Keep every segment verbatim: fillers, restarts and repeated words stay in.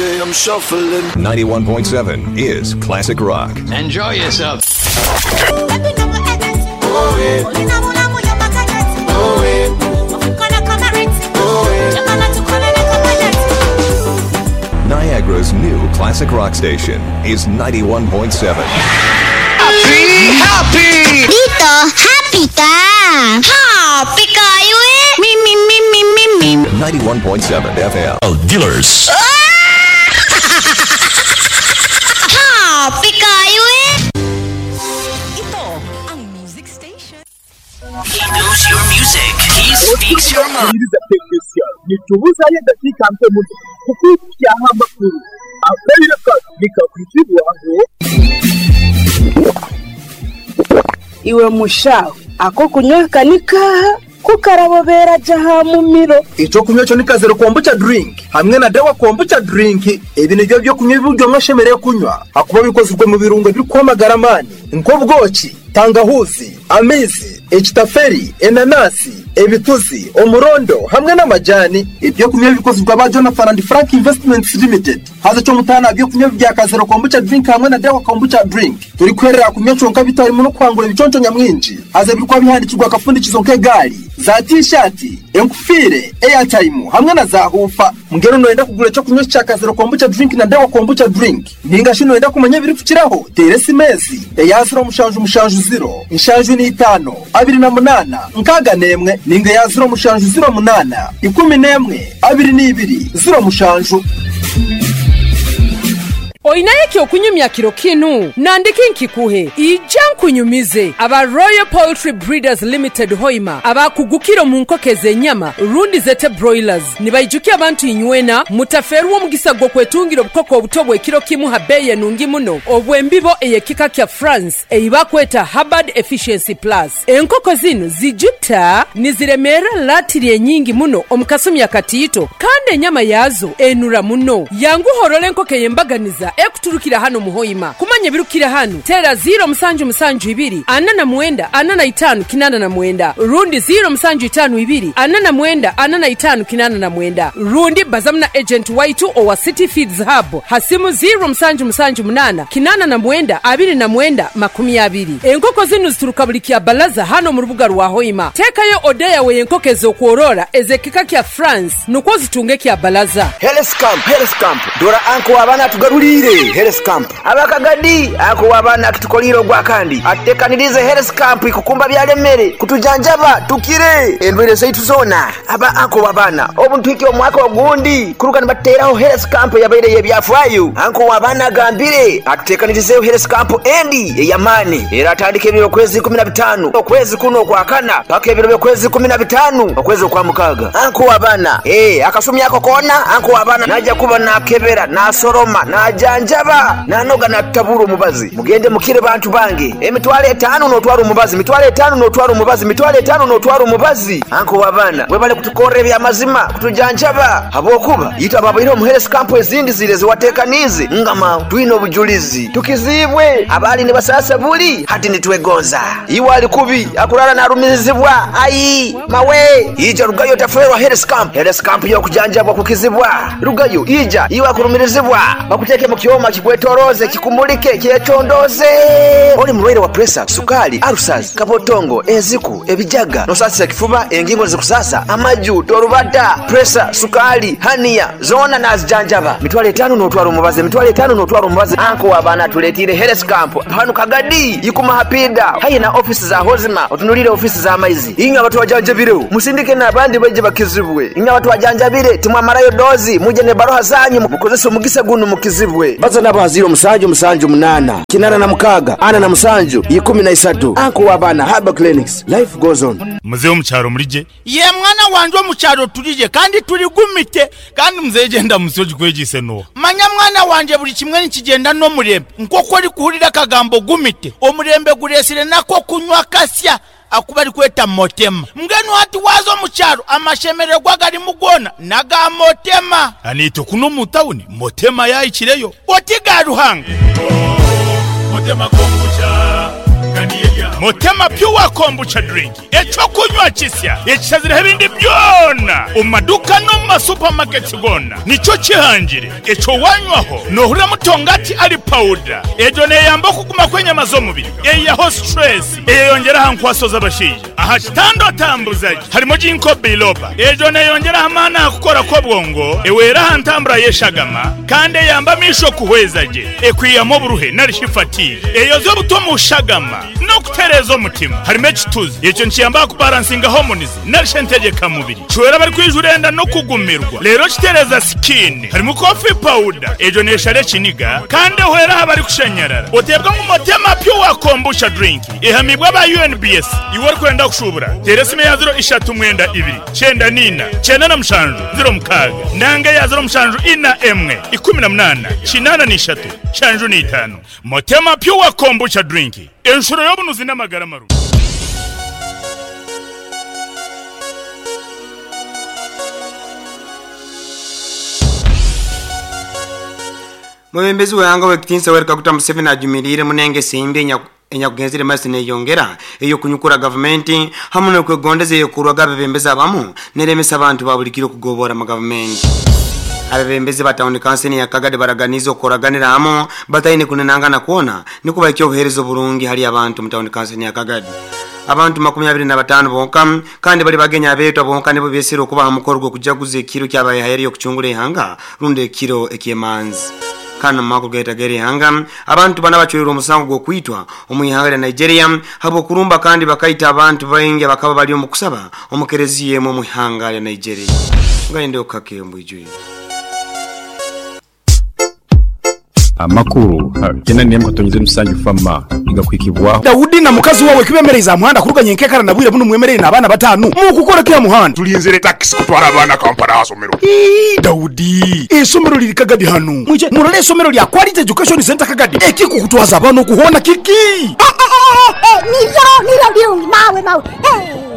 day I'm shuffling. ninety-one point seven is Classic Rock. Enjoy yourself. Niagara's new Classic Rock station is ninety-one point seven. Happy, happy! Dito, happy ka! Happy kayo eh! Mi, mi, mi, mi, mi, mi. ninety-one point seven F M. Dealers. Happy kayo eh! Ito ang music station. He knows your music. He speaks your mind. Nitubuzayo eddakiika mpe muno kukuukyaho amakulu akaliro nikakuzibwaho. Iwe mushaho ako kunywa kanikaha kukarabobera jaha mumiro. Ekyo kunywa kyo ni kazero kombucha drink hamwe na dawa kombucha drink. Ebi nibyo byo kunywa ibiryo mwashemereye kunywa hakuba bikozwe mu birungo biri kwamagara amani nk'obwoki, tangahuzi, amizi, ekitaferi, enanasi, ebituzi, omurondo hamwe n'amajani. Ibyo kunywa bikozwe ba Jonathan and Frank Investments Limited. Haza cyo mutana byo kunywa bya kazero kombucha drink hamwe na dawa kombucha drink. Turi kwerera kunywa conka bitarimo no kwangura ibiconco nyamwinji. Haza birikwa bihandikirwa akafundikizo nk'egari, za t-shirt, enkufire, airtime hamwe na za hufa. Mugero noyenda kugura cyo kunywa cya kazero kombucha drink na dawa kombucha drink. Ninga shino wenda kumenya biri kukiraho. Tere simezi ya zero mushanju mushanju zero inshanju ni itano abiri na munana nkaga nemwe ninga ya zero mushanju zero munana ikumi nemwe abiri n'ibiri zero mushanju. Oinaye okunyumya kiro kinu nandiki nkikuhe ija nkunyumize aba Royal Poultry Breeders Limited Hoima abakugukiro mu nkoko z'enyama rundi zete broilers nibaijukia abantu inywena mutaferwa omugisa gwo kwetungira obukoko obuto bw'ekiro kimu ha beye nungi muno obwembibo eyekika kya France eibakweta Hubbard Efficiency Plus. Enkoko zino zijuta niziremera latiri enyingi muno omukasumi akatiito kandi enyama yazo enura muno. Yanguhorole enkoko eyembaganiza ekuturukira hano muhoima. Kumanya birukira hano tera zero musanju musanju ibiri ana na mwenda ana na itanu kinana na mwenda rundi zero musanju itanu ibiri ana na mwenda ana na itanu kinana na mwenda rundi bazamna agent waitu owa City Feeds Hub hasimu zero musanju musanju munana kinana na mwenda abiri na mwenda makumi abiri. Enkoko zinu zituruka buli kya balaza hano mu rubuga rwa Hoima. Tekayo odeya we enkoko ez'okworora ezekika kya France nukwo zitunge kya balaza. Health Camp, Health Camp dora anko abana tugaruli Health Camp abakagadi ako abana kitukoliro gwa kandi atekanirize Health Camp ikukumba byalemere kutujanjaba tukire endwere zaitu zona aba anko wabana obuntwike omwaka ogundi kuruka nibateraho Health Camp yabaire yebyafwayo anko wabana gambire atutekanirize Health Camp endi eyamani era atandike ebiro kwezi kumi na bitano okwezi kuno kwa kana paka ebiro kwezi kumi na bitano okwezi kwa mukaga anko wabana eh akasumi yako kona anko wabana naja kuba nakebera nasoroma na janjaba nanoga natabura omubazi mugende mukire bantu bange emitwalo etano notwara omubazi mitwalo etano notwara omubazi mitwalo etano notwara omubazi anko wabana webale kutukorra ebyamazima kutujanjaba habwokuba yita babaire omu Health Camp ezindi zire ziwatekanize ngama twine obujulizi tukizibwe abali ne basasa buli hati nitwegonza iwe ali kubi akurara narumizibwa ayi mawe ija rugayo taferwa Health Camp. Health Camp yo kujanjabwa kukizibwa rugayo ija iwe akurumirizibwa bakuteke mu kyoma kikwetoroze kikumulike kyetondoze. Oli mulwaire wa pressure, sukali, ulcers, kabotongo, enziku, ebijaga, nosasa kifuba, engingo zikusasa, amaju, torubata, pressure, sukali, hania, zona nazijanjaba. Mitwalo etano notwara omubazi, mitwalo etano notwara omubazi. Anko wabana tuletire Health Camp hanu Kagadi yikuma hapida hayi na ofisi za Hozima otunulire ofisi za maizi inyo abantu bajanjabire musindike n'abandi baje bakizibwe inyo abantu bajanjabire timwamarayo dozi muje ne baroha zanyu mukozese omugisa guno mukizibwe baza n'abaziro musanju musanju munana kinana na mukaga ana na musanju ikumi na isatu anko wabana Haba Clinics life goes on. Muzehe omukyaro mulije ye mwana wanje omukyaro tulije kandi tuligumite kandi muzehe genda musoji kwegise no manya mwana wanje buli kimwe nikigenda n'omurembe nk'oku ori kuhurira akagambo gumite omurembe guresire nako kunywa kasya akuba ari kweta motema mbwenu hati waza omukyaro amashemererwa garimu gona naga motema anito kuno mu tawuni motema yayikireyo oti ga Ruhanga motema kombucha. Motema Pure Kombucha Drink ekyokunywa kisya ekishazireho ebindi byona omu maduuka n'omu masupamaketi gona nikyo kihangire ekyo wanywaho nohurira mutongati ali powder egyo neyamba okuguma kw'enyama z'omubiri eyaho stress eyeyongera aha nkwaso z'abashaija aha kitanda otambuzaje harimo ginkgo biloba egyo neyongera amaani aha kukora kw'obwongo ewera aha ntambura y'eshagama kandi eyamba amisho kuhweza gye ekwiyamu oburuhe narishi fatigue eyoza obuto mu shagama n'okutereeza omutima harimo ekituzi ekyo nikiyamba kubalansinga hormones narishi entegekamubiri kiwera bari kwijura enda n'okugumirwa rero kitereza skin harimo coffee powder egyo neshara ekiniga kandi ehwera aha bari kushanyarara otebwa ngu Motema Pure Kombucha Drink ehamibwa aba U N B S iwe orikwenda kushubura tera esimu ya ziro ishatu mwenda ibiri kyenda nina kyenda na mushanju ziro mukaaga nanga ya ziro mushanju ina emwe ikumi na munana kinana n'ishatu shanju n'itaano. Motema Pure Kombucha Drink enshuro y'obunuzi n'amagara marungi. Mwebembezi wehanga wekitinsa Yoweri Kaguta Museveni ajumirire munenge simbi enyakugenzire masi neyongera eyo kunyukura gavumenti hamwe n'okwegondeza eyokurwaga abebembezi abamu neremesa abantu babulikire okugobora mu gavumenti. Abebembezi ba town council ya Kagadi baraganiza okoraganira hamwe bataine kunenangana kuona nikuba obuheereza oburungi hali abantu mu town council ya Kagadi. Abantu makumi abiri na batano bonka kandi bali bagenya abeetwa bonka nibo besire okuba hamukoro gw'okujaguza ekiro kyabayehaire okucungura ihanga rundi ekiro ekyemanzi. Kana mako gaita gere hanga abantu bana bachwera omusango gwokwitwa omwihanga lya Nigeria habo kurumba kandi bakaita abantu baingi bakaba bali omukusaba omukereziye mu mwihanga lya Nigeria. Ngaende okake mbwijwe amakuru tena ni mkatonyize musanju fama igakwikibwa Daudi na mukazi wawe kibemereza muhanda kuruganye nkekara nabwire buno mwemerere n'abana batanu mu kukora kya muhanda tulinzire taxi kutwara abana Kampala asomero. Ii Daudi esomero liri Kagadi hano muje murole esomero lya Quality Education Center Kagadi ekiko kutwaza abana okuhona kiki nivyo nivyo birungi mawe mawe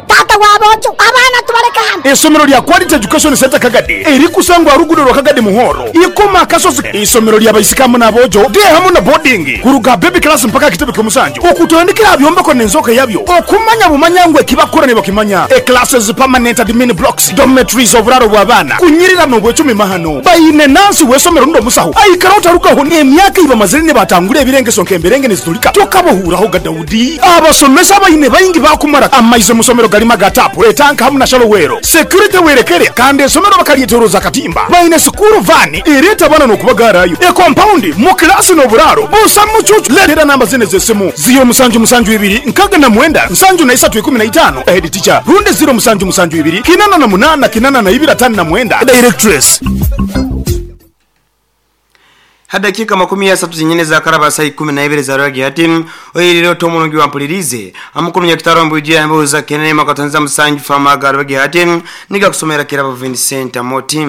tata wabojo abana tubareka hano. Esomero lya Quality Education Center Kagadi eri kusangwa rugudo rwa Kagadi muhoro ikoma kasozi isomero lya bayisikamu nabojo de hamwe na boarding kuruga baby class mpaka kitebe kyomusanjo okutandikira byombeko nenzoka yabyo okumanya bumanyangwe kibakora ne bakimanya e classes permanent admin blocks dormitories oburaro bw'abana kunyirira mu bwecumi mahano bayine nansi wesomero ndo musaho aikara utarukaho emyaka iba mazire batangure ebirengeso nkemberenge nizitulika tokabohuraho ga Daudi abasomesa bayine bayingi bakumara amaize musomero galima gatapu etanka hamwe na shalowero security werekere kandi esomero bakalyeteroza katimba bayine sukuru vani ereta bana nokubagarayo e compound mu class no buraro busa mucucu lera namba zine zesimu zero musanju musanju ibiri nkaga na mwenda nsanju na isatu ikumi na itano head teacher runde zero musanju musanju ibiri kinana na munana kinana na ibiri atano na mwenda directress. Hadakika makumi ya satu zinyine za karaba saa ikumi na ibiri za rwagi hati oyiriro tomulungi wampulirize amukulu nyakitaro mbujia ambuza kenene makatanza musanju fama garwagi hati niga kusomera kirabo Vincent Moti.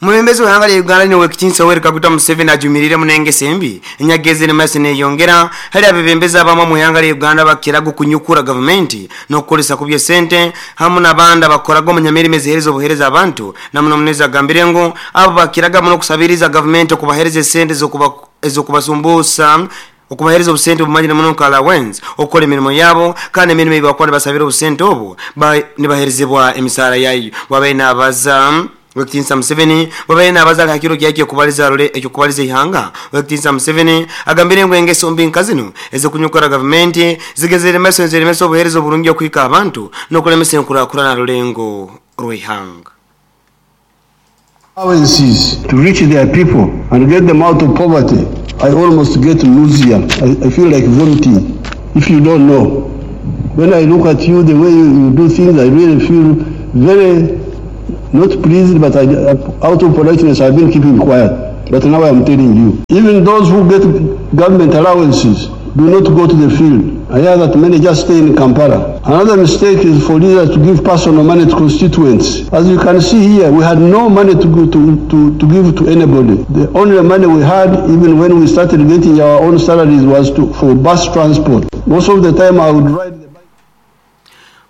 Mwebembezi wehanga lya Uganda ni wekitinsa Yoweri Kaguta Museveni ajumirire munenge sembi enyageze ne masi neyongera hali abebembezi abamu mu ihanga lya Uganda bakirago kunyukura gavumenti n'okukolesa kubye sente hamwe n'abandi abakoraga omunyamirimo ezihereza obuhereza abantu namuno muneza agambire ngu abo bakiraga muno kusabiriza gavumenti okubahereza esente ez'okubasumbusa okubahereza obusente obumanyire muno nka allowance okukola emirimo yabo kandi emirimo eyi bakora basabira obusente obu nibaherezebwa emisaara yayo wabaye nabaza Wekitinsa Museveni wabaye nabaza hakiro kyake kubaliza role ekyo kubaliza ihanga. Wekitinsa Museveni agambire ngo engeso mbi nkazino ezikunyukora gavumenti zigezere meso nzere obuhereza oburungi okwika abantu n'okulemesa enkulaakulana na rulengo rw'ihanga. Allowances to reach their people and get them out of poverty. I almost get nausea. I, I feel like vomiting. If you don't know, when I look at you, the way you, you do things, I really feel very not pleased, but I, out of politeness, I've been keeping quiet. But now I'm telling you, even those who get government allowances do not go to the field. I hear that many just stay in Kampala. Another mistake is for leaders to give personal money to constituents. As you can see here, we had no money to, go to, to, to give to anybody. The only money we had, even when we started getting our own salaries, was to, for bus transport. Most of the time I would ride.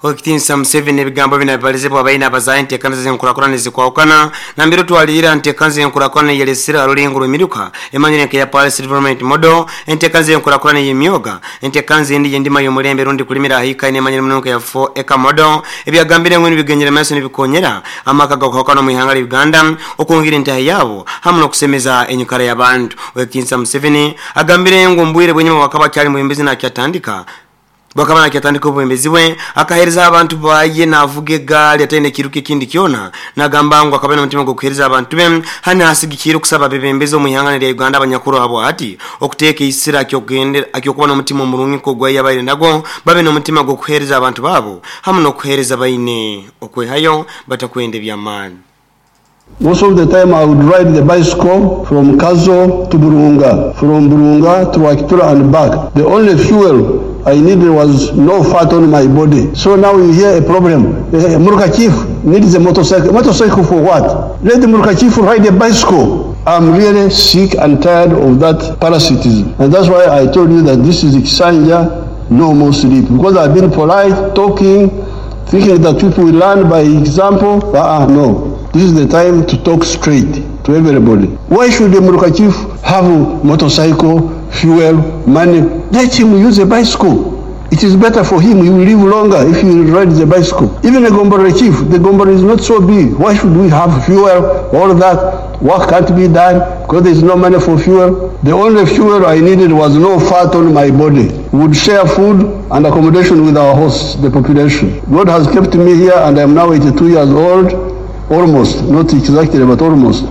Okitinsa Museveni ebigambo bino bibalizibwa abaina abazaye enteekaniza z'enkurakurana ezikwawukana nambere twalira nteekaniza y'enkurakurana eyalesera alulengo lw'emiruka emanyire nka ya Policy Development Model, enteekaniza y'enkurakurana ey'emyoga, enteekaniza endi y'endima y'omulembe rundi kulimira ahika enemanyire muno nka ya four acre model. Ebyagambire ngwenu bigenyera maaso n'ebikonyera amaka gakwawukana mu ihanga lya Uganda okwongera entaha yaabo hamwe n'okusemeza enyikara y'abantu. Okitinsa Museveni agambire ngu mbwire bwenyuma wakaba akyali mwembezi nakyatandika bakaba nakyatandika obwembezi bwe akahereza abantu baye navuga egaali ataine ekiruka ekindi kyona, nagamba ngu akaba n'omutima gw'okuhereza abantu be hano hasigikire okusaba abebembezi omu ihanga lya Uganda abanyakuru abo ati okuteeka eisira akyokuba n'omutima omurungi nk'ogwaye abaire nagwo babe n'omutima gw'okuhereza abantu baabo hamwe n'okuhereza baine okwehayo batakwenda eby'amaani. Most of the time I would ride the bicycle from Kazo to Burunga, from Burunga to Wakitura and back. The only fuel I needed was no fat on my body. So now you hear a problem. The Muruka chief needs a motorcycle. Motorcycle for what? Let the Muruka chief ride a bicycle. I'm really sick and tired of that parasitism. And that's why I told you that this is Kisanja, no more sleep. Because I've been polite, talking, thinking that people will learn by example. Uh-uh, no. This is the time to talk straight to everybody. Why should the Muruka chief have a motorcycle, fuel, money? Let him use a bicycle. It is better for him. He will live longer if he rides the bicycle. Even a Gombore chief, the Gombore is not so big. Why should we have fuel, all that? Work can't be done because there is no money for fuel. The only fuel I needed was no fat on my body. We would share food and accommodation with our hosts, the population. God has kept me here and I am now eighty-two years old. Almost, not exactly, but almost.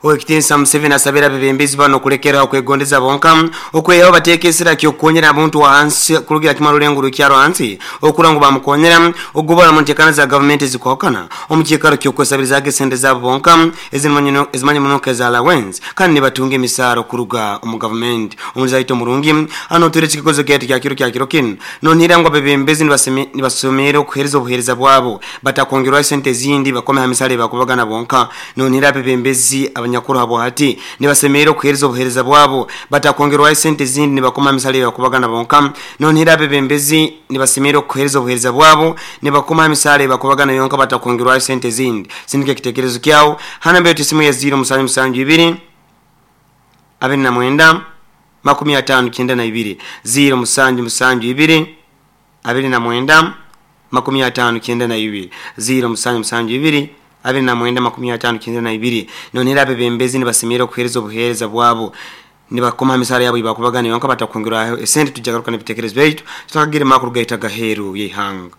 Owekitinsa Museveni asabira abebembezi bano okulekera okwegondeza bonka okweyaho bateeka esira ky'okukonyera abantu wansi kulugira kimwe rulengo rukyaro hansi okura ngu bamukonyera ogubara mu nteekana za gavumenti ezikwawukana omu kiikaro ky'okwesabirizaako esente zaabo bonka ezimanye muno nka eza allowance kandi nibatunga emisaara okuruga omu gavumenti. Omulizi aita omurungi hano otuire ekikozo kyaitu kya kiro kya kiro kinu nonhira ngu abebembezi nibasomere okuhereza obuhereza bwabo batakwongerwaho esente ezindi bakome ha misaara ebakubagana bonka. Nonhira abebembezi abanyakuru abo hati nibasemere okuhereza obuhereza bwabo batakwongerwaho esente ezindi nibakoma amisale bakubagana bonka. Nonhira abebembezi nibasemere okuhereza obuhereza bwabo nibakoma amisale bakubagana yonka batakwongerwaho esente ezindi. Sindika ekitekerezo kyawo hana mbere tisimu ya zero musanju musanju ibiri abiri na mwenda makumi atano kyenda na ibiri zero musanju musanju ibiri abiri na mwenda makumi atano kyenda na ibiri zero musanju musanju ibiri abiri na mwenda makumi atano kyenda na ibiri. Nonera abebembezi nibasemera okuhereza obuhereza bwabo nibakoma misara yabo ibakubagana yonka batakwongerwaho esente. Tujagaruka n'ebitekerezo byaitu tutakagira makuru gaita gaheru y'ihanga.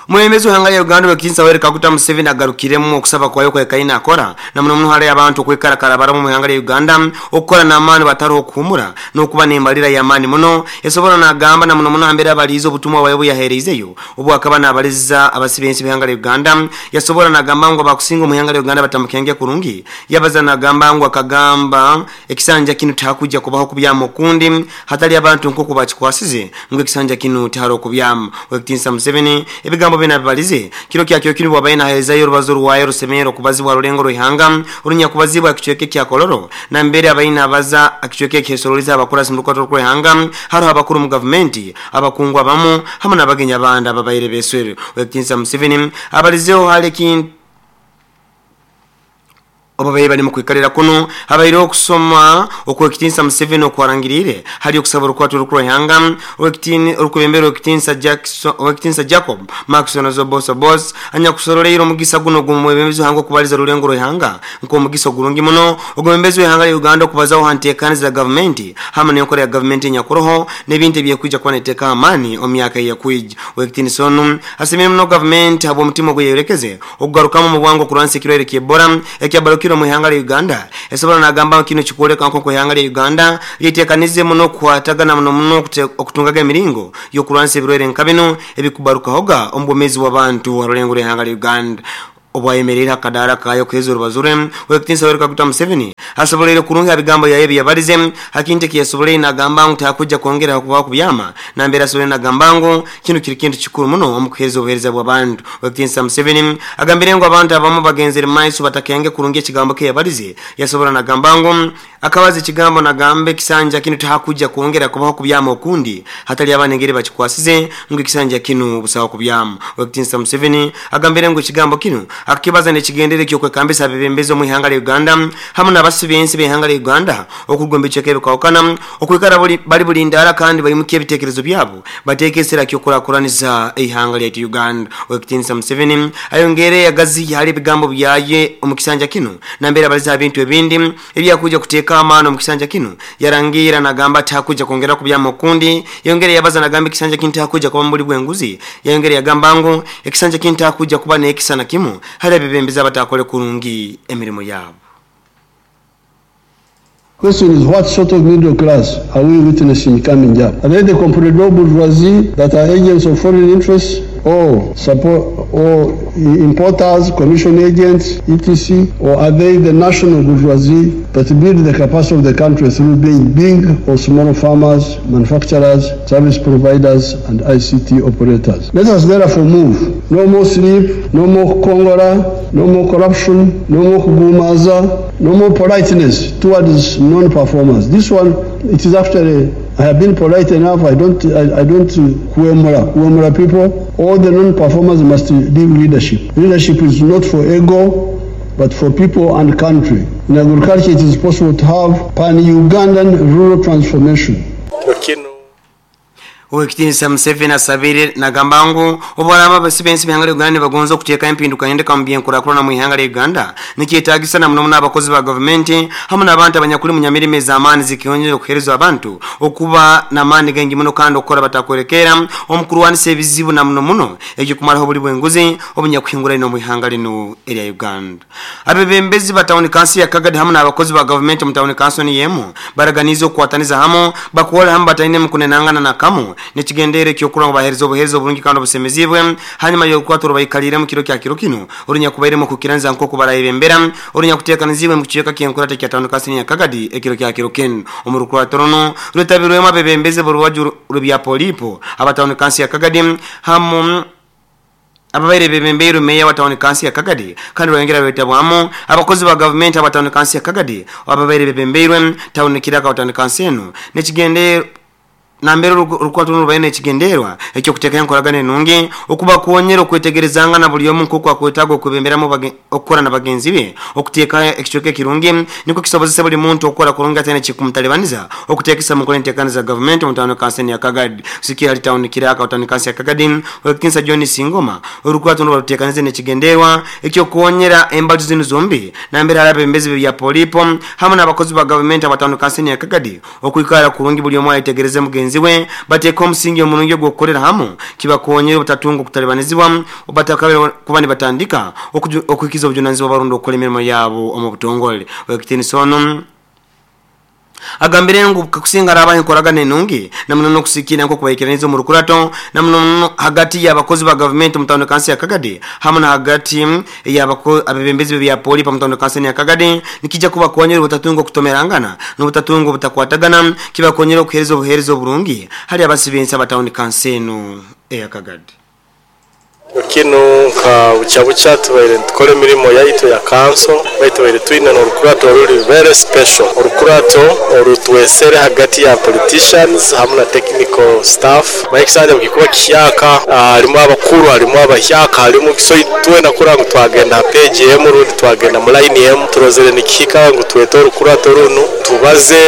Mwemezi w'ihanga lya Uganda Owekitinsa Yoweri Kaguta Museveni agarukiremu okusaba kwayo kwekaina akora na muno muno hali abantu okwekarakara baramu mu ihanga lya Uganda okukora n'amaani batariho okuhumura n'okuba n'embalira y'amaani muno esobora n'agamba na muno muno hambere abaliize obutumwa bwawe buyaheereizeyo obu akaba n'abaliza abasibensi b'ihanga lya Uganda. Yasobora n'agamba ngu abakusinga omu ihanga lya Uganda batamukenge kurungi. Yabaza n'agamba ngu akagamba ekisanja kinu tihakuja kubaho kubyama okundi hatali abantu nk'oku bakikwasize ngu ekisanja kinu tihariho kubyama. Owekitinsa Museveni ebigambo binabalize kiro kyakyo kinu bwabaye nahezayo orubazo rwayo rusemero kubazibwa rulengo ruhanga orunyakubazibwa akicweke kya Kololo na mbere abayina abaza akicweke kyesoroliza abakurasi mu rukoto rw'ihanga hariho abakuru mu gavumenti abakungu abamu hamwe n'abagenya abandi ababaire beswere. Owekitinsa Museveni abalizeho hali kintu obabaye bali mu kwikalira kuno habaire okusoma okwekitinsa Museveni okwarangirire hali okusaba orukwato rw'ihanga owekitini orukubembera owekitinsa Jackson owekitinsa Jacob Maxon Zoboso Boss anyakusoroleire omugisa guno gumwebembezi hango okubaliza rulengo rw'ihanga nk'omugisa ogurungi muno ogwembezi w'ihanga lya Uganda okubazaho hanteekaniza za gavumenti hamwe n'enkora ya gavumenti enyakuroho n'ebintu ebyekwija kuba neteeka amaani omu myaka eyakwija. Owekitinsa onu asimire muno gavumenti habw'omutima ogweyerekeze okugarukamu mu bwangu okurwanisa ekirwaire ky'Ebola ekyabarukire mu ihanga lya Uganda. Esobora nagamba kino kikwoleka nko ihanga lya Uganda lyetekanize muno okukwatagana muno muno okutungaga emiringo y'okurwanisa ebirwaire nka bino ebikubarukahoga omu bwomeezi bw'abantu harulengo lw'ihanga lya Uganda. obwayemerera akadara kayo kuheza urubazure wekitinsa Yoweri Kaguta Museveni asobolere kurungi abigambo yaye byabarize hakinte kiyasobolere nagamba ngu takuja kwongera kuba kubyama nambera asobolere nagamba ngu kino kiri kintu kikuru muno omukuheza obuhereza bw'abantu. Wekitinsa Museveni agambire ngu abantu abamu bagenzere maiso batakenge kurungi ekigambo ke yabarize yasobola nagamba ngu akabaza ekigambo nagambe kisanja kino takuja kwongera kubaho kubyama okundi hatali abana ngere bakikwasize ngu kisanja kino busawa kubyama. Wekitinsa Museveni agambire ngu ekigambo kino akibaza nekigendere kyo kwekambisa abebembezi mu ihanga lya Uganda hamwe n'abasibensi b'ihanga lya Uganda okugomba echeke bikawukana okwikara bali bulindara kandi bayimukiye ebitekerezo byabo batekesera kyo kurakuraniza ihanga lya Uganda. Wekitinsa Museveni ayongere yagazi hali ebigambo byaye omu kisanja kino nambera abaliza ebintu ebindi ebyakuja kuteeka amaano mu kisanja kino yarangira nagamba takuja kwongera kubyama okundi yongere yabaza nagamba ekisanja kino takuja kuba mbuli bwenguzi yongere yagamba ngu ekisanja kino takuja kuba n'ekisana kimu hali abebembezi abatakole kurungi emirimu yabo. Question is, what sort of middle class are we witnessing coming up? Are they the comprador bourgeoisie that are agents of foreign interests, or support, or importers, commission agents, et cetera? Or are they the national bourgeoisie that build the capacity of the country through being big or small farmers, manufacturers, service providers, and I C T operators? Let us therefore move. No more sleep, no more Kongora, no more corruption, no more kugumaza, no more politeness towards non-performers. This one, it is actually, I have been polite enough, I don't, I, I don't kuemura, kuemura people. All the non-performers must leave leadership. Leadership is not for ego, but for people and country. In agriculture, it is possible to have pan-Ugandan rural transformation. Wekitinsa Museveni asabire nagamba ngu obalaba abasibensi b'ihanga lya Uganda bagonza okuteeka empinduka yendeka mu byenkulakulana mu ihanga lya Uganda nikyetaagisa na muno muno abakozi ba gavumenti hamwe n'abantu abanyakuli mu nyamirimo ez'amaani zikiyongera okuheereza abantu okuba n'amaani gengi muno kandi okukora batakwerekera omukurwanisa ebizibu na muno muno ekyokumalaho obuli bw'enguzi obunyakuhingura ino mu ihanga lino erya Uganda. Abebembezi ba tawuni kansi ya Kagadi hamwe n'abakozi ba gavumenti mu tawuni kansi yemu baraganiza okukwataniza hamwe bakuwola hamwe bataine mu kunenangana na kamu nekigendere kyokuranga bahereza obuhereza obulungi kandi obusemezibwe hanyuma y'okukwatura bayikalire mu kiro kya kiro kino orunya kubairemo kukiranza nk'oku barayebembera orunya kuteekanizibwe mu kichweka ky'enkurata kya tawuni kansi ya Kagadi ekiro kya kiro kino omu rukwaturo runo rwetabirwemu abebembezi b'oruwaju rw'ebya polipo abatawuni kansi ya Kagadi hamu ababaire bebembeirwe meya wa tawuni kansi ya Kagadi kandi rwongera rwetabwamu abakozi ba gavumenti abatawuni kansi ya Kagadi ababaire bebembeirwe tawuni kiraka wa tawuni kansi eno nekigende nambere rukwatu rubaine ekigenderwa ekyo kuteeka enkolagana enungi okuba kuwonyera okwetegerezanga na buli omu nk'oku akwetaaga okwebemberamu okukora na bagenzi be okuteeka ekicweka ekirungi nikwo kisobozesa buli muntu okukora kurungi ate nekikumutalibaniza okuteekesa mu nkola enteekaniza za gavumenti mu tawuni kansi ya Kagadi kusikira ali tawuni kiraka tawuni kansi ya Kagadi Wekitinsa John Singoma orukwatu rubaruteekanize nekigenderwa ekyokuwonyera embaju zino zombi nambere hali abebembezi bya polipo hamwe n'abakozi ba gavumenti abatawuni kansi ya Kagadi okwikara kurungi buli omu ayetegereze mugenzi we bateeka omusingi omulungi ogw'okukolera hamu kibakonyera obutatunga okutalibanizibwa obatakabira kuba nibatandika okuhikiza obujunanizibwa barundi okukola emirimo yaabo omu butongole. Wekitinsa ono agambire ngu kakusinga araba enkoragana enungi namuno n'okusikira nk'okubaikiraniza omu rukurato namuno hagati y'abakozi ba gavumenti mu tawuni kansi ya Kagadi hamwe na hagati y'abebembezi b'ebya polipo mu tawuni kansi ya Kagadi nikijja kubakonyera obutatunga okutomerangana n'obutatunga obutakwatagana kibakonyera okuheereza obuheereza oburungi hali abasibensi abatawuni kansi eno eya Kagadi. Kino nka bucha tubaire tukore emirimo yaitu ya kanso baitu twine n'orukurato ruri very special orukurato orutwesere hagati ya politicians hamwe na technical staff baikisanja bukikuba kiyaka harimu abakuru harimu abahyaka harimu so twena kura ngu twagenda page emu rundi twagenda mu line emu turozere nikihika ngu twete orukurato runu tubaze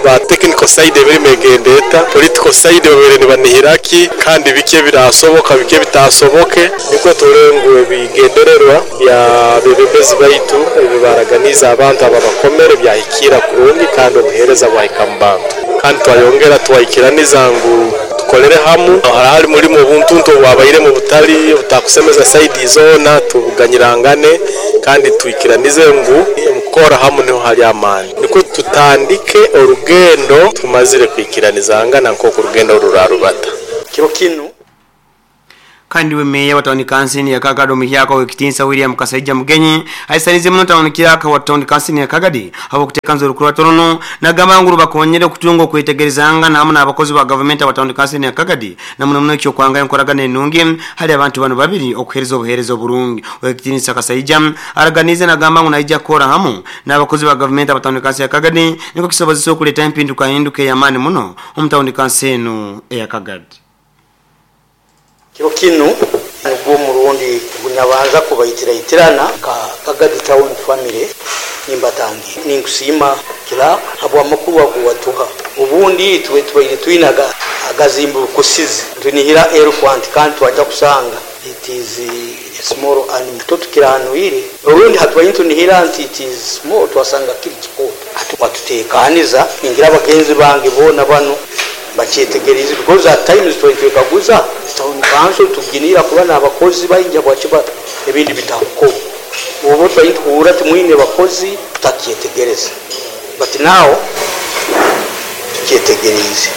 ba technical side emirimo egendeta political side babere nibanihiraki kandi bike birasoboka bike bitasoboke niko turenguwe bigendererwa bya bebembezi baitu ebibaraganiza abantu aba bakomere byahikira kurungi kandi obuhereza bwahika mu bantu kandi twayongera twahikiraniza ngu tukolere hamu harahari muri mu buntuntu wabaire mu butali butakusemeza side zona tuganyirangane kandi twikiranize ngu mukora hamu niho hari amani niko tutandike orugendo tumazire kwikiranizangana nk'uko urugendo rurarubata kiro kino. Kandi we meya wa tawuni kansini ya Kagadi omuhyaka w'ekitinsa William Kasaija Mugenyi aisanize muno tawuni kiraka wa tawuni kansini ya Kagadi habw'okuteekanza orukurato runo nagamba ngu rubakonyere okutunga okwetegerezanga hamu n'abakozi ba gavumenti aba tawuni kansini ya Kagadi na muno muno ekyokwanga enkoragana enungi hali abantu bano babiri okuheereza obuheereza oburungi. Ow'ekitinsa Kasaija araganize nagamba ngu naija kukora hamu n'abakozi ba gavumenti aba tawuni kansini ya Kagadi niko kisobozesa okuleeta empindukahinduka ey'amaani muno omu tawuni kansi enu eya Kagadi. Kiro kinu nigwo murundi gunyabanza kubaitira-itirana ka Kagadi Town Family nimbatangi ninkusima kila habwa makuru aguwatuha ubundi tuwe tubaire twinaga agazimbu kusizi tunihira elephant kandi twaja kusanga it is a small animal tukiranwire urundi hatwaye tunihira nti it is small twasanga kiri kikoto atutekaniza ningira abagenzi bange bona bano bakyetegereze because at times twekaguza town council tuginira kuba n'abakozi bayinja kwakiba ebindi bitakuko ubu twayituhura timwine bakozi tutakyetegereza but now tukyetegereze.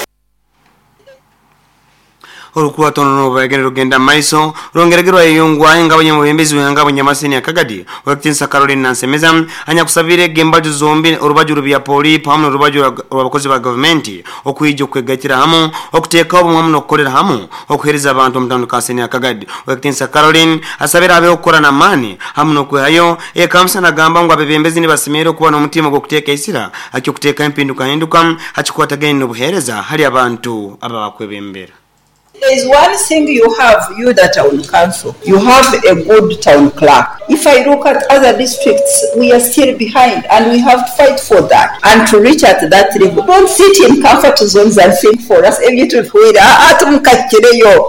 Orukurato runo bagenda rugenda maiso rongeregerwa yeyongwa engabo nyamubembezi wengabo nyamasini ya Kagadi Ow'ekitinsa Caroline Nansemeza anyakusabire gembaju zombi orubaju rubya poli pamu n'orubaju rw'abakozi ba gavumenti okwija okwegaitira hamu okuteeka obumwe hamu n'okukolera hamu okuheereza abantu omu tawuni kansini ya Kagadi. Ow'ekitinsa Caroline asabire abeho okukora n'amaani hamu n'okwehayo ekamusa nagamba ngu abebembezi nibasemereire okuba n'omutima gw'okuteeka isira akyokuteeka empindukahinduka hakikwatagaine n'obuheereza hali abantu ababakwebembera. There is one thing you have, you the town council. You have a good town clerk. If I look at other districts, we are still behind and we have to fight for that and to reach at that level. Don't sit in comfort zones and think for us.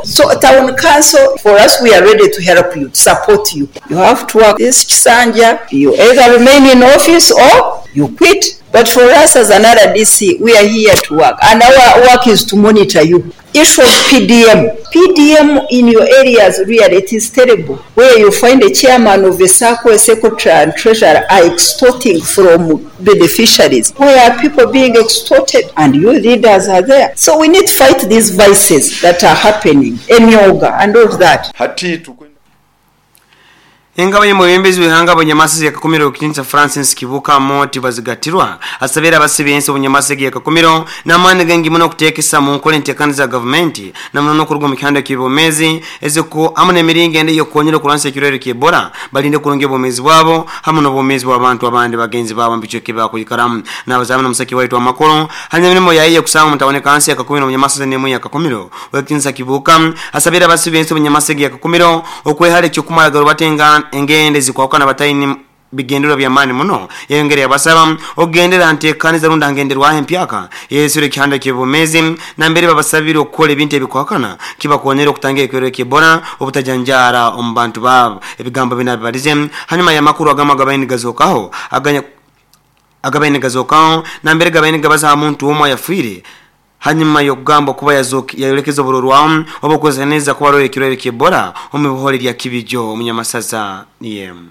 So town council, for us, we are ready to help you, to support you. You have to work this Kisanja. You either remain in office or you quit. But for us as an R D C, we are here to work. And our work is to monitor you. Issue of P D M. P D M in your areas, really, it is terrible. Where you find a chairman of a SACCO, a secretary and treasurer are extorting from beneficiaries. Where are people being extorted? And you leaders are there. So we need to fight these vices that are happening. Emyoga and all that. Engabo y'omubembezi w'ihanga Bunyamasisi ya Kakumiro Kitinsa Francis Kibuka Moti bazigatirwa asabira abasibensi Bunyamasisi ya Kakumiro n'amaani gengi muno okuteekesa mu nkola enteekaniza za gavumenti namuno n'okuruga mu kihanda ky'ebyomeezi eziko hamu n'emiringo endi ey'okukonyera okulwanisa ekirwaire ky'Ebola balinde kurungi obwomeezi bwabo hamu n'obwomeezi bw'abantu abandi bagenzi baabo mu bicweka ebi bakwikaramu. N'abazamu n'omusaki waitu amakuru hanyuma emirimo yayiye okusanga omu tawuni kansi ya Kakumiro Bunyamasisi n'emu ya Kakumiro. Ow'ekitinsa Kibuka asabira abasibensi Bunyamasisi ya Kakumiro okwehara ekyokumara batenga engende zikwakana bataini bigendera bya mani muno yengere yabasaba ogendera ntekaniza runda ngenderwa empyaka yesure kihanda kibomezi na mbere babasabira okukola ebintu ebikwakana kibakonyera okutangira ekirwaire ky'Ebola obutajanjara omu bantu babo. Ebigambo binabibalize hanyuma y'amakuru agama gabaini gazokaho aganya agabaini gazokaho na mbere gabaini gabaza muntu omwe yafwire hanyuma yokugamba kuba yazoki yayolekeza oburorwamu obukozaneza kuba rore ekirwaire ky'Ebola omu bihore lya Kibijo Omunyamasaza niyem.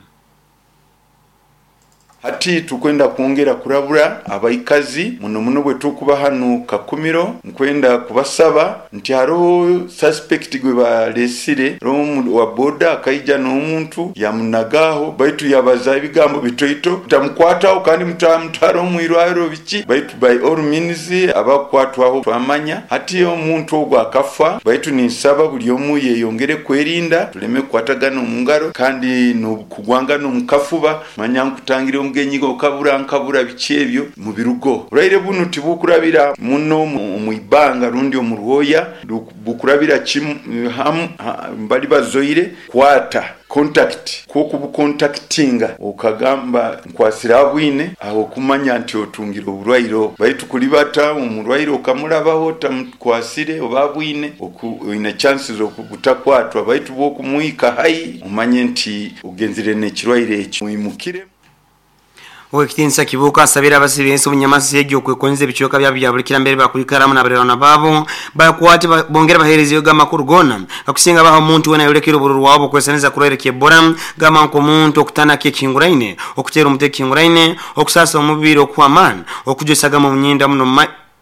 Hati tukwenda kuongera kurabura abaikazi muno muno bwe tukuba hano Kakumiro nkwenda kubasaba nti hariho suspect gwe balesire romu wa boda akaija n'omuntu yamunagaho baitu yabaza ebigambo bitoito tamukwataho kandi mutamutwara omwirwaro biki baitu by all means abakwatwaho twamanya hati omuntu ogwo akafa baitu ninsaba buli omu yeyongere kwerinda tuleme kukwatagana omu ngaro kandi n'okugwangana omu kafuba manya nkutangire omugenyi okabura nkabura biki ebyo mu birugo urayire buno tibukurabira muno mu ibanga rundi omuruhoya bukurabira kimu hamu mbali bazoire kwata contact ko kubucontactinga okagamba nkwasira bwine aho kumanya nti otungira oburwairo baitu kulibata omurwairo okamulabaho tamkwasire oba bwine oine chances okutakwatwa baitu bokumuika hai umanye nti ugenzire nekirwaire ekyo muimukire. Owekitinsa Kibuka asabira abasibensi Bunyamasisi egyo okwekonza ebicweka byabo bya buli kirambere bakwikaramu n'abarerwana baabo bakwate bongera baheerezeyo amakuru gona akusinga baha omuntu wena yolekera obururu wabo okwesaneza kurwaire ky'Ebola gamba nk'omuntu okutanaka ekihinguraine okuteera omutwe ekihinguraine okusasa omubiri okw'amaani okujwesaga mu myenda muno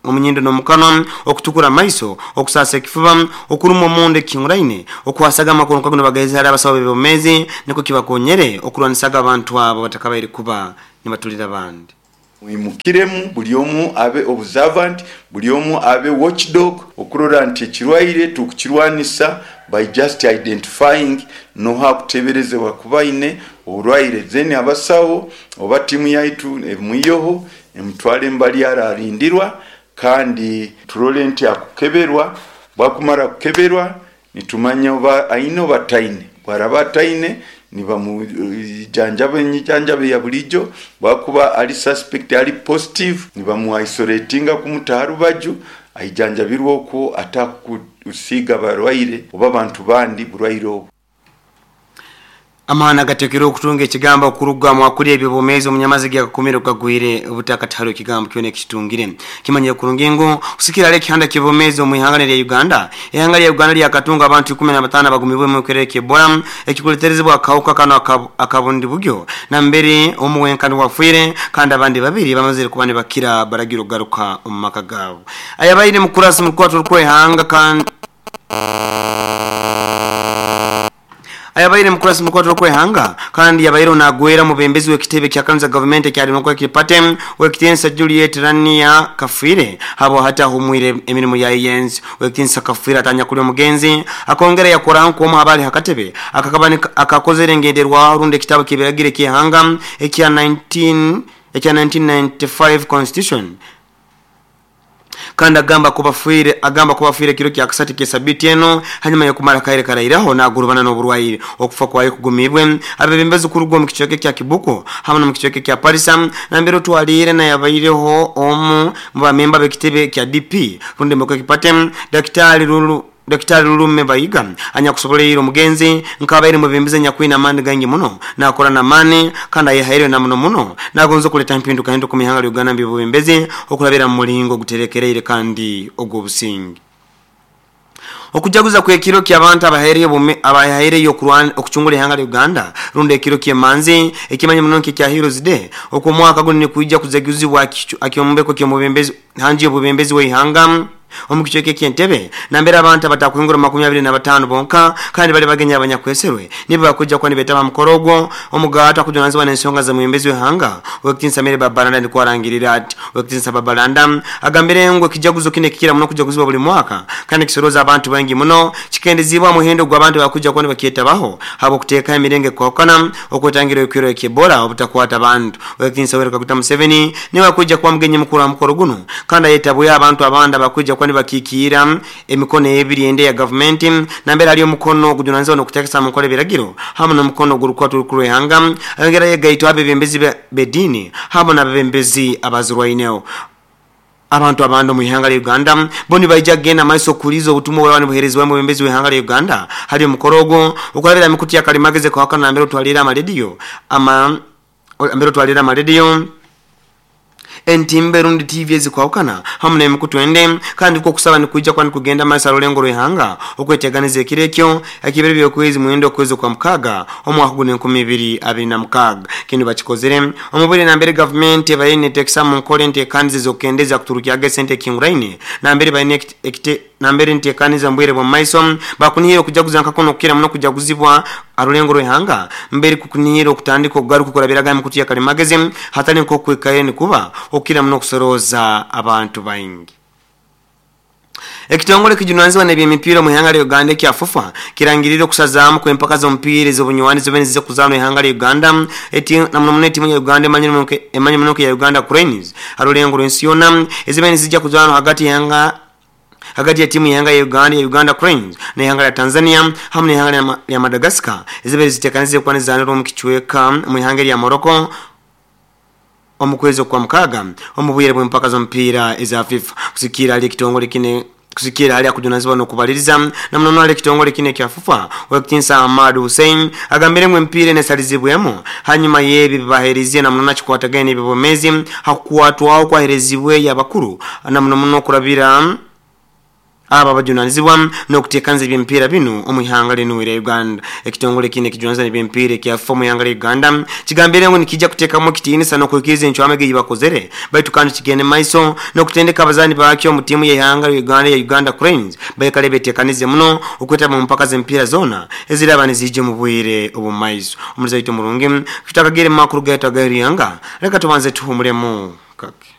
omunyindo n'omukanwa, okutukura amaiso, okusasa ekifuba, okuruma omunda ekinguraine, okwasaga amakuru nkaguno bagaheza hali abasawo b'ebyomeezi niko kibakonyere okurwanisaga abantu abo batakabaire kuba nibatulira abandi. Mwimukiremu buli omu abe observant, buli omu abe watchdog okurora nti ekirwaire tukukirwanisa by just identifying noha kuteberezebwa kubaine oburwaire, then abasawo oba tiimu yaitu emwiyoho emutwale embali ararindirwa, kandi turole nti akukeberwa. Bwakumara kukeberwa nitumanya oba aine oba taine, bwaraba ataine nibamujanjaba enyijanjaba ya bulijo, bwakuba ali suspect ali positive nibamuisolatinga kumutaha rubaju aijanjabirwa okwo atakusiiga barwaire oba bantu bandi burwaire obwo. Amahana gatekere okutunga ekigambo okuruga mu akuli ebyobomezi omunyamazi gya kakumiro kagwire obutakatalo ekigambo kyone ekitungire kimanye kurungingo kusikira ale kihanda kyobomezi omu ihanga lya Uganda. Ihanga lya Uganda lyakatunga abantu ikumi na batano bagumibwe mu kerere ky'Ebola ekikuleterezebwa akawuka kano akabundi bugyo na mbere omuwenkani wafwire kandi abandi babiri bamazire kuba ne bakira baragiro garuka omu maka gabo. Ayabaire mukurasi mukwato rw'ihanga kandi ayabaire mukurasi mukwato rw'ihanga kandi yabaire onagwera mubembezi w'ekitebe kya kanisa government kya Democratic Party w'ekitensa Juliet Rania Kafwire habo hata humwire emirimu ya yenzi. W'ekitensa Kafwire atanya kuli omugenzi akongera yakora nko omu habali hakatebe akakabani akakozere ngenderwa runde kitabo kibiragire ky'ihanga ekya nineteen ekya nineteen ninety-five constitution kandi agamba kubafuire agamba kubafuire kiro kya kasati kesabiti eno hanyuma yokumara kaire karairaho nagurubana n'oburwaire okufa kwaye kugumibwe. Abebembezi kurugwa mu kichweke kya Kibuko hamwe mu kichweke kya Parisa nambero twalire na yabaireho omu mu bamemba bekitebe kya D P runde moko kipate Daktari Lulu Daktari Lulume Bayiga anyakusoboleire omugenzi nkabaire mubembeze nyakwina amani gangi muno nakora na mani kandi ayihaire na muno muno nagonzo kuleta mpinduka hindu ku mihanga ya Uganda mbibembeze okulabira mu mulingo guterekereire kandi ogwo busingi. Okujaguza kwe kiro kya abantu abahereye abahereye okurwana okuchungula ihanga la Uganda runde ekiro kyemanzi ekimanye muno kya Heroes Day okwo mwaka guno ni kuija kuzaguzibwa akyombeko kyomubembezi hanji obubembezi we ihanga omukichweke kyentebe nambera abantu abatakuhingura makumi abiri na batano bonka kandi bali bagenya abanyakweserwe nibo bakuja kwa nibetaba mukorogo omugata kujunanzibwa n'ensonga za muyembezi w'ihanga wekitinsa mere babalanda ndi kwarangirira ati wekitinsa babalanda agambire ngo kijaguzo kine kikira muno kujaguzibwa buli mwaka kandi kisoroza abantu bangi muno chikendezibwa muhendo gw'abantu bakuja kwa nibakyetabaho habo kuteeka emirenge kwakana okwetangira ekiro ky'Ebola obutakwata abantu. Wekitinsa Yoweri Kaguta Museveni niwe akuja kwa mugenyi mukuru wa mukoro guno kandi ayetabwe abantu abandi bakuja kwa bakikiira emikono ebiri ende ya government nambera ali omukono gujunanzwa nokutekesa mukole biragiro hamwe n'omukono gurukwatu rukuru ayongera yegaito abebembezi bedini hamwe n'abebembezi abazirwaineo. Abantu abando mu ihanga lya Uganda boni baija genda maiso kulizo obutumwa bwa buherezwa mu bembezi w'ihanga lya Uganda hali omukorogo okulabira mikuti ya kalimageze kwa wakana nambera twalira amaredio ama ambero twalira amaredio entimbe rundi T V ezikwawukana hamwe n'emikutu ende kandi ko kusaba ni kuija kwani kugenda masa rulengo rw'ihanga okweteganiza ekirekyo ekibere byokwezi muwendo kwezi kwa mukaga omwaka guno enkumi ibiri abiri na mukaga kino bakikozere omubiri nambere government bayine tekisa mu nkole nteekaniza zokendeza kuturukyaga sente kinguraine nambere bayine ekite nambere nteekaniza mbwire bwa maiso bakunihira okujaguza nkakono kukira muno kujaguzibwa arulengo rw'ihanga mbere kukunihira okutandika okugaruka kurabiraga emikutu ya kalimagezi hatali nkokwekaye nikuba okukira muno okusoroza abantu baingi. Ekitongole kijunanzibwa n'ebyemipiira mu ihanga lya Uganda ekya FUFA kirangirire okusazaamu kw'empaka z'omupiira ez'obunywanyi zibene zize kuzaanwa ihanga lya Uganda eti namuno muno ettiimu ya Uganda emanyi muno ya Uganda Cranes arulengo rw'ensi yonna ezibene zijja kuzaanwa hagati y'ihanga hagati ya timu ya Uganda ya Uganda Cranes na ihanga la Tanzania hamwe n'ihanga lya Madagascar ezibere zitekanizibwe kuba nizaanirwa omu kichweka mu ihanga lya Morocco omukwezi kwa mukaga omubwire bw'empaka z'omupiira eza FIFA. Kusikira ali ekitongole kine kusikira hali akujunazibwa n'okubaliriza na munono ali ekitongole kine kya FUFA wekitinsa Ahmad Hussein agambire ngu emipiira enesalizibwemu hanyuma y'ebi bibahereziye na munono akikwatagane n'ebibomezi hakukwatwaho kwaherezibwe y'abakuru na muno muno okurabira Aba bajunanizibwa n'okuteekaniza eby'emipiira binu omu ihanga linu erya Uganda. Ekitongole kino ekijunanizibwa n'eby'emipiira ekya FIFA mu ihanga lya Uganda kigambire ngu nikijja kuteekamu ekitiinisa n'okuhikiriza encwamo ei bakozere, baitu kandi kigende mu maiso n'okutendeka abazaani bakyo mu ttiimu y'ihanga lya Uganda ya Uganda Cranes baikale beteekanize muno okwetaba mu mpaka z'emipiira zoona eziraba nizijja mu bwire obw'omu maiso. Omulizi waitu omurungi tutakagire mu makuru gaitu ag'eryanga, leka tubanze tuhumulemu kake.